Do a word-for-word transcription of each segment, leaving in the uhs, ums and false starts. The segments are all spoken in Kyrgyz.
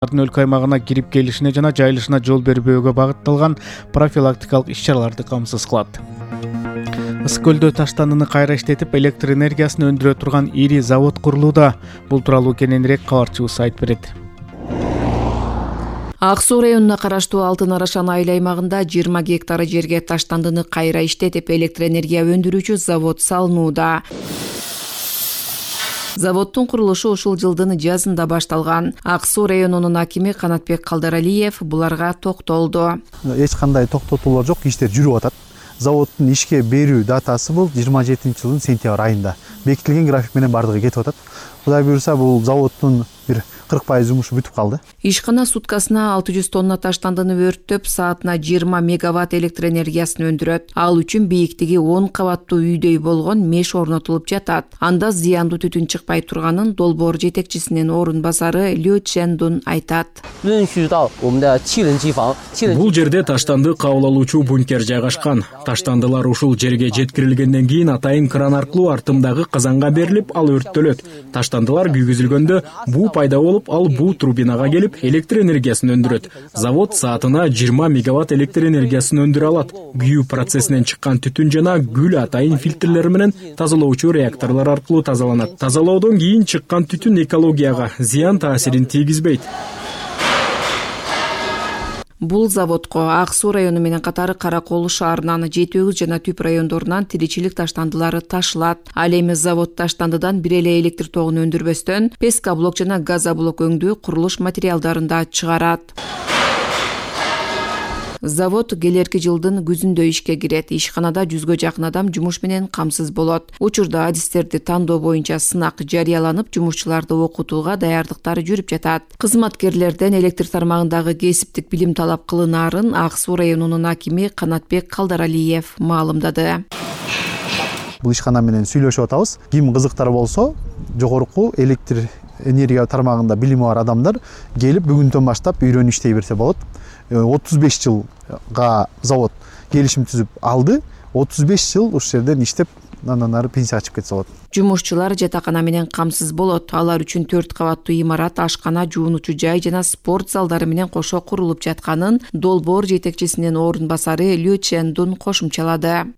өлкө аймагына кирип келишине жана жайылышына жол бербөөгө багытталган профилактикалык иш-чараларды камсыз кылат. Ысык көлдө таштандыны кайра иштетип, электр энергиясын өндүрө турган ири завод курулууда. Бул тууралуу кененирээк кабарчыбыз айтып берет. Ак Суу районуна караштуу Алтын Арашан айыл аймагында жыйырма гектар жерге таштандыны кайра иштетип, электр энергия өндүрүүчү завод салынууда. Заводдун курулушу ушул жылдын жазында башталган. Ак Суу районунун акими Канатбек Калдаралиев буларга токтолду. Эч кандай токтотуулар жок, иштер жүрүп атат. Заводдун ишке берүү датасы бул жыйырма жетинчи жылдын сентябрь айында бекитилген график менен бардыгы кетип атат. Кудай буюрса, бул заводдун бир кырк пайыз жумушу бүтүп калды. Ишкана суткасына алты жүз тонна таштандыны өрттөп, саатына жыйырма мегаватт электр энергиясын өндүрөт. Ал үчүн бийиктиги он кабаттуу үйдөй болгон меш орнотулуп жатат. Анда зыяндуу түтүн чыкпай турганын долбоор жетекчисинин орун басары Лю Чендун айтат. Бул жерде таштанды кабыл алуучу бункер жайгашкан. Таштандылар ушул жерге жеткирилгенден кийин атайын кран аркылуу артымдагы казанга берилип, ал өрттөлөт. Таштандылар күйгүзүлгөндө буу пайда болуп, ал буу турбинага келип, электр энергиясын өндүрөт. Завод саатына жыйырма мегаватт электр энергиясын өндүрө алат. Күйүү процессинен чыккан түтүн жана күл атайын фильтрлер менен тазалоочу реакторлор аркылуу тазаланат. Тазалоодон кийин чыккан түтүн экологияга зыян таасирин тийгизбейт. Бул заводко Ак Суу району менен катары Каракол шаарынан, Жети Өгүз жана Түп райондорунан тиричилик таштандылары ташылат. Ал эми завод таштандыдан бир эле электр тогун өндүрбөстөн, пескоблок жана газоблок өңдүү курулуш материалдарын да чыгарат. Завод келерки жылдын күзүндө ишке кирет. Ишканада жүзгө жакын адам жумуш менен камсыз болот. Учурда адистерди тандоо боюнча сынак жарыяланып, жумушчуларды окутууга даярдыктар жүрүп жатат. Кызматкерлерден электр тармагындагы кесиптик билим талап кылынаарын Ак Суу районунун акими Канатбек Калдаралиев маалымдады. Бул ишкана менен сүйлөшүп атабыз. Ким кызыктар болсо, жогорку электр энергия тармагында билими бар адамдар келип бүгүндөн баштап үйрөнүп иштей берсе болот. отуз беш жылга завод келишим түзүп алды. отуз беш жыл ушул жерден иштеп, андан ары пенсияга чыгып кетсе болот. Жумушчулар жатакана менен камсыз болот. Алар үчүн төрт кабаттуу имарат, ашкана, жуунуучу жай жана спорт залдары менен кошо курулуп жатканын долбоор жетекчисинин орун басары Лю Чендун кошумчалады.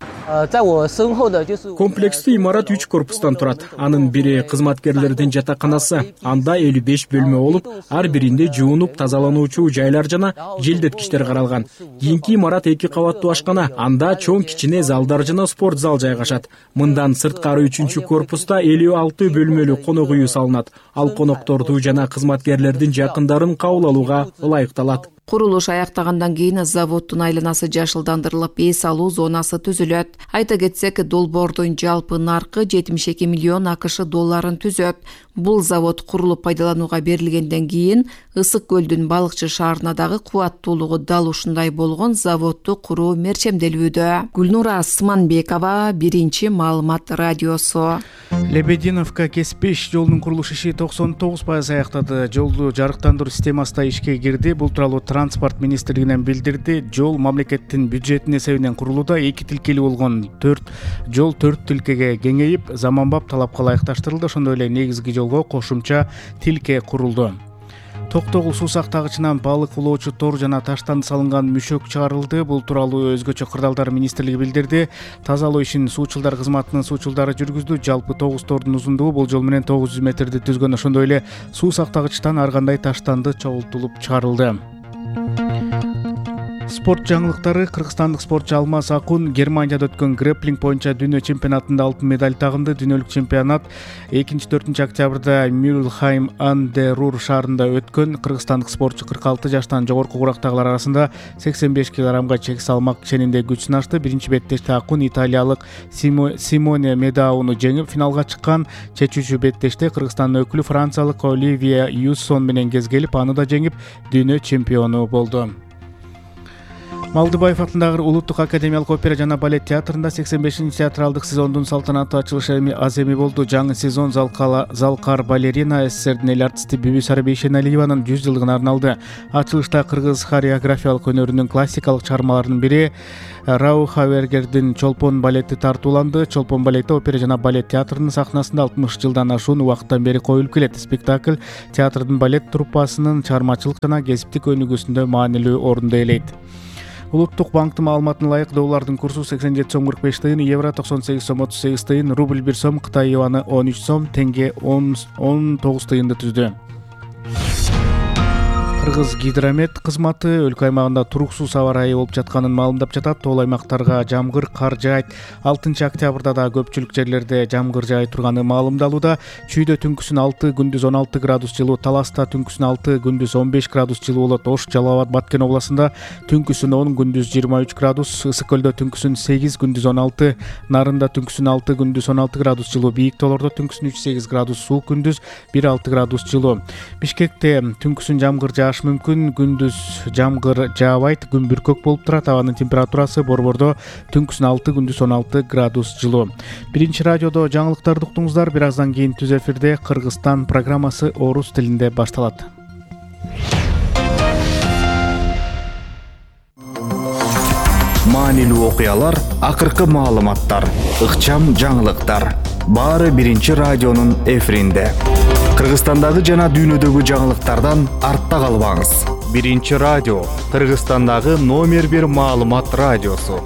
Комплекстүү имарат үч корпустан турат. Анын бири кызматкерлердин жатаканасы. Анда элүү беш бөлмө болуп, ар биринде жуунуп тазалануучу жайлар жана желдеткичтер каралган. Кийинки имарат эки кабаттуу ашкана. Анда чоң кичине залдар жана спорт зал жайгашат. Мындан сырткары үчүнчү корпуста элүү алты бөлмөлүү конок үйү салынат. Ал конокторду жана кызматкерлердин жакындарын кабыл алууга ылайыкталат. Курулуш аяктагандан кийин заводдун айланасы жашылдандырылып, эс алуу зонасы түзүлөт. Айта кетсек, долбоордун жалпы наркы жетимиш эки миллион АКШ долларын түзөт. Бул завод курулуп пайдаланууга берилгенден кийин Ысык көлдүн Балыкчы шаарына дагы кубаттуулугу дал ушундай болгон заводду куруу мерчемделүүдө. Гүлнура Асманбекова, Биринчи маалымат радиосу. Лебединовка Кеспеш жолунун курулуш иши токсон тогуз пайыз аяктады. Жолду жарыктандыруу системасы да ишке кирди. Бул тууралуу Транспорт министрлигинен билдирди. Жол мамлекеттин бюджетинин эсебинен курулууда. Эки тилкелүү болгон төрт жол төрт тилкеге кеңейип, заманбап талапка ылайыкташтырылды. Ошондой эле негизги жолго кошумча тилке курулду. Токтогул суу сактагычынан балык улоочу тор жана таштан салынган мүшөк чыгарылды. Бул тууралуу Өзгөчө кырдаалдар министрлиги билдирди. Тазалоо ишин суучулдар кызматынын суучулдары жүргүздү. Жалпы тогуз тордун узундугу болжол менен тогуз жүз метрди түзгөн. Ошондой эле суу сактагычтан ар кандай таштанды чогултулуп чыгарылды. Спорт жаңылыктары. Кыргызстандык спортчу Алмаз Акун Германияда өткөн грэпплинг боюнча дүйнө чемпионатында алтын медаль тагынды. Дүйнөлүк чемпионат экинчи төртүнчү октябрда Мюльхайм ан де Рур шаарында өткөн. Кыргызстандык спортчу кырк алты жаштан жогорку курактагылар арасында сексен беш килограммга чек салмак ченинде күч сынашты. Биринчи беттеште Акун италиялык Симоне Медауну жеңип финалга чыккан. Чечүүчү беттеште Кыргызстандын өкүлү франциялык Оливия Юссон менен кезгелип, аны да жеңип дүйнө чемпиону болду. Малдыбаев атындагы Улуттук академиялык опера жана балет театрында сексен бешинчи театралдык сезондун салтанаттуу ачылышы аз эми болду. Жаңы сезон залкар балерина СССРдин эл артисти Бүбүсара Бейшеналиеванын жүз жылдыгына арналды. Ачылышта кыргыз хореографиялык өнөрүнүн классикалык чыгармаларынын бири Рау Хавергердин Чолпон балети тартууланды. Чолпон балети опера жана балет театрынын сахнасында алтымыш жылдан ашуун убакыттан бери коюлуп келет. Спектакль театрдын балет труппасынын чыгармачылык жана кесиптик өнүгүүсүндө маанилүү орунду ээлейт. Улуттук банктын маалыматына ылайык доллардын курсу сексен жети сом кырк беш тыйын, евро токсон сегиз сом отуз сегиз тыйын, рубль бир сом, Кытай юаны он үч сом, тенге он тогуз тыйынды түздү. Кыргыз гидромет кызматы өлкө аймагында туруксуз аба ырайы болуп жатканын маалымдап жатат. Тоол аймактарга жамгыр, кар жаайт. алтынчы октябрда да көпчүлүк жерлерде жамгыр жаай турганы маалымдалууда. Чүйдө түнкүсүн алты, күндүз он алты градус жылуу, Таласта түнкүсүн алты, күндүз он беш градус жылуу болот. Ош, Жалал Абад, Баткен областында түнкүсүн он, күндүз жыйырма үч градус, Ысык көлдө түнкүсүн сегиз, күндүз он алты, Нарында түнкүсүн алты, күндүз он алты градус жылуу, Бийик тоолордо түнкүсүн үч сегиз градус суук, күндүз бир алты градус жылуу. Бишкекте түнкүсүн жамгыр жааш мүмкүн, күндүз жамгыр жаабайт, күн бүркөк болуп турат. Абанын температурасы Борбордо түнкүсүн алты, күндүз он алты градус жылуу. Биринчи радиодо жаңылыктарды уктуңуздар. Бир аздан кийин түз эфирде Кыргызстан программасы орус тилинде башталат. Маанилүү окуялар, акыркы маалыматтар, ыкчам жаңылыктар. Баары биринчи радионун эфиринде. Кыргызстандагы жана дүйнөдөгү жаңылыктардан артта калбаңыз. Биринчи радио, Кыргызстандагы номер бир маалымат радиосу.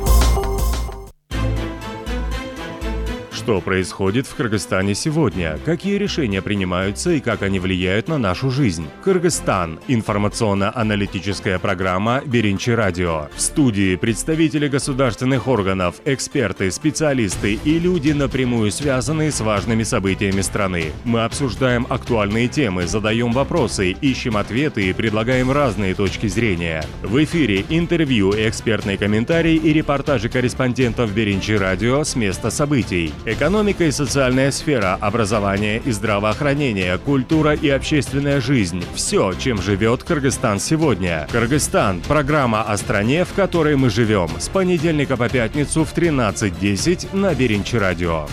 Что происходит в Кыргызстане сегодня? Какие решения принимаются и как они влияют на нашу жизнь? Кыргызстан. Информационно-аналитическая программа «Биринчи радио». В студии представители государственных органов, эксперты, специалисты и люди, напрямую связанные с важными событиями страны. Мы обсуждаем актуальные темы, задаем вопросы, ищем ответы и предлагаем разные точки зрения. В эфире интервью, экспертные комментарии и репортажи корреспондентов «Биринчи радио» с места событий. Экономика и социальная сфера, образование и здравоохранение, культура и общественная жизнь – все, чем живет Кыргызстан сегодня. Кыргызстан – программа о стране, в которой мы живем. С понедельника по пятницу в тринадцать десять на Биринчи радио.